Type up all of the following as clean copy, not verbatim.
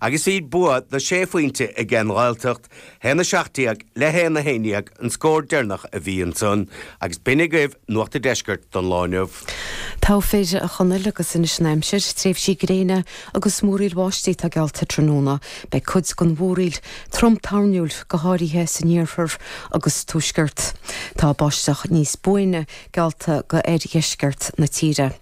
Agus bhí bua de shé phointe ag an nGaeltacht, 1-17 le 1-11 an scór deireanach a bhí ansan. Agus b'in agaibh Nuacht an Deiscirt don lá inniu. Togha fir, a Chonaill, agus anois an aimsir, tréimhsí gréine agus múraíl bháistí atá geallta tráthnóna. Beidh cuid den mhúraíl trom toirniúil, go háirithe san iarthar agus tuaisceart. Tá báisteach níos buaine geallta go oirdheisceart na tíre.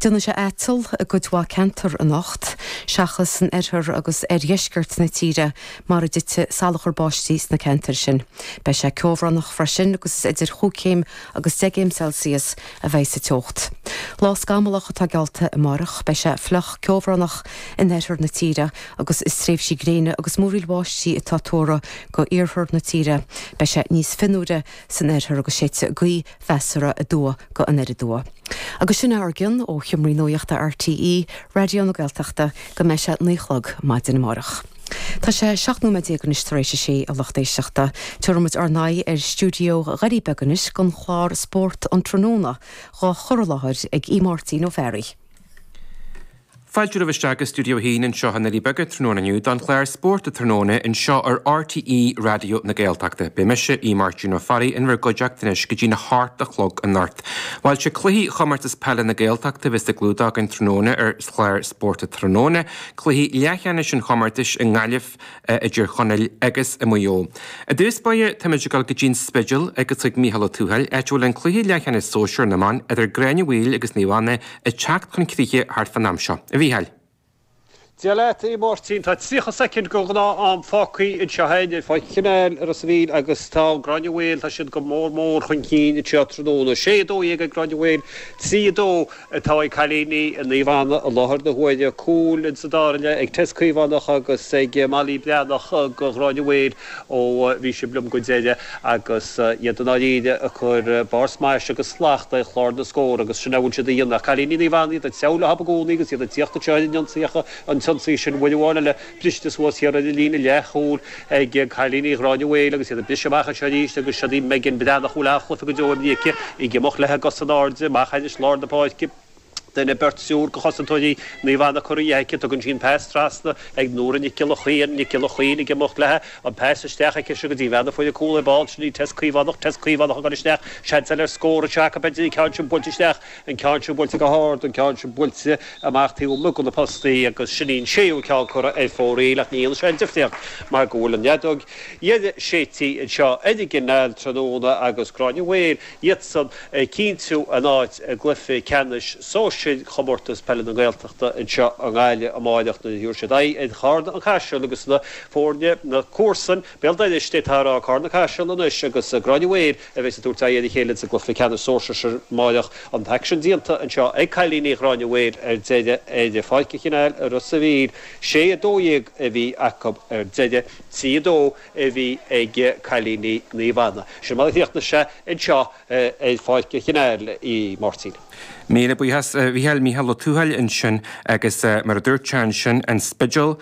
Déanfaidh sé aiteal i gcuid mhaith ceantar anocht, seachas san oirthear agus oirdheisceart na tíre mar a dtitfidh salachar báistí sna ceantair sin. Beidh sé ceobhránach freisin agus is idir chúig chéim agus deich gcéim Celsius a bheidh sa teocht. Lá scamallach atá geallta amárach. Beidh sé fliuch ceobhránach in oirthear na tíre agus is tréimhsí gréine agus múraíl bháistí atá tuartha go iarthar na tíre. Beidh sé níos fionnuaire san oirthear agus séidfidh gaoth mheasartha aduaidh go anoir aduaidh. Agus sin é ár gcionn ó Sheomraí Nuachta RTÉ Raidió na Gaeltachta go mbeidh sé 9 a chlog maidin amárach. Tá sé 17 nóiméad anois tar éis a sé, a lucht éisteachta. Tabharfaidh muid ár n-aghaidh ar stiúideo Dhoirí Beaga anois don chlár Spórt an Tráthnóna, dhá chur i láthair ag Aodh Máirtín Ó Fearraigh. Fáilte romhaibh isteach go Stiúideo 1 anseo i nDoirí Beaga tráthnóna inniu don chlár Spórt Tráthnóna anseo ar RTÉ Raidió na Gaeltachta. Beidh mise, Aodh Máirtín Ó Fearraigh, in bhur gcuideachta anois go dtína hocht a chlog anocht. Bhuel, sé cluichí Chomórtas Peile na Gaeltachta a bheas á gclúdach againn tráthnóna ar chlár Spórt Tráthnóna, cluichí leathcheannais an chomórtais i nGaillimh, i dTír Chonaill agus i Maigh Eo. I dtús báire, táimid ag dul go dtí an Spidéal agus chuig Mícheál Ó Tuathail, áit a bhfuil an cluiche leathcheannais sóisear na mban idir Gráinne Mhaol agus Naomh Anna ag teacht chun críche thart fán am seo. A Mhícheáil. Dia leat, a Mháirtín. Tá 30 soicind den ghnáth-am fágtha anseo againn ar Pháirc an Chanáil i Ros an Mhíl agus tá Gráinne Mhaol, tá siad go mór mór chun cinn anseo tráthnóna. 6, 12 ag Gráinne Mhaol, 3, 2 atá ag cailíní Naomh Anna i láthair na huaire. Cúil insa dara leath ag Tess Caomhánach agus ag Molly Breathnach do Ghráinne Mhaol ó bhí sibh liom go deireadh agus iad i ndáiríre ag cur barr smais agus slacht ar chlár na scór agus sin a bhfuil siad a dhéanamh. Ach cailíní Naomh Anna iad ag treabhadh leo i gcónaí agus iad ag tíocht anseo ar an ionsaí ach an t-ionsaí sin uair amháin eile briste suas thiar ar an líne leathchúil ag cailíní Ghráinne Mhaol agus iad ag briseadh amach anseo arís agus siod í Megan Breathnach a bhfuil an-chluiche go deo imrithe aici ag imeacht léi i gcos in airde amach thairis lár na páirce. Duine, beirt, triúr de chosantóirí Naomh Anna curtha dhi aici. Tugann sí an pas trasna ag Nóra Nic Giolla Chaoin, Nic Giolla Chaoin ag imeacht léi. An pas isteach aici seo go dtí bean na foirne cúl ar ball. Sin í Tess Caomhánach. Tess Caomhánach ag dul isteach. Seans eile ar scór anseo acu b'fhéidir. An ceann sin buailte isteach. An ceann sin buailte go hard. An ceann sin buailte amach taobh amuigh de na postaí agus sin í an séú ceann curtha ar fóraoil ach ní dhéanann sé an difríocht mar go bhfuil an fheadóg dheiridh séidte anseo ar an gCanáil tráthnóna agus Gráinne Mhaol iadsan ag cinntiú a n-áit i gcluiche ceannais sóisir Chomórtas Peile na Gaeltachta anseo i nGaillimh amáireach nuair a thabharfaidh siad aghaidh ar Charna An Caiseal agus na foirne, na comharsain, Béal Doiriste atá á rá, Carna Caiseal anois agus Gráinne Mhaol a bheas ag tabhairt aghaidh ar a chéile sa gcluiche ceannais sóisir amáireach. An t-aicsean déanta anseo ag cailíní Ghráinne Mhaol ar deireadh ar Pháirc an Chanáil i Ros a' Mhíl. 6, 12 a bhí acu ar deireadh, 3, 2. a bhí ag cailíní Naomh Anna. Sin mar a chríochnaigh sé anseo ar Pháirc an Chanáil, a Mháirtín. Míle buíochas, a Mhícheáil. Mícheál Ó Tuathail ansin agus mar a dúirt sé ansin, an Spidéal.